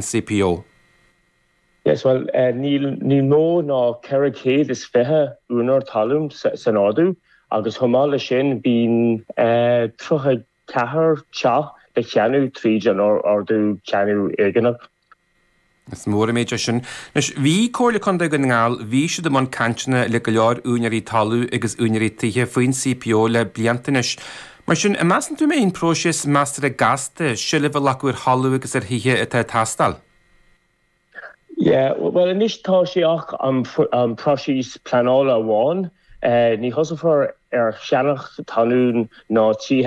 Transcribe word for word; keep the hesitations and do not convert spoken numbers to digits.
C P O? Yes, well, uh, níl ní mó ná ceithre chéad is fiche úinéir talún san ordú, agus chomh maith leis sin bíonn uh, tríocha ceathair teach le ceannach tríd an ordú ceannach éigeanach. Is mór an méid é sin. Anois bhí Comhairle Contae Dhún na nGall, bhí siad i mbun cainteanna le go leor úinéirí talún agus úinéirí tithe faoin C P O le blianta anois. Mar sin, an measann tú mé an próiseas measartha gasta seilbh a ghlacadh ar thalamh agus ar thithe atá ag teastáil? Yeah, well, anois tá sé ach an, an próiseas pleanála amháin. Uh, ní thosófar ar cheannach talún ná tithe.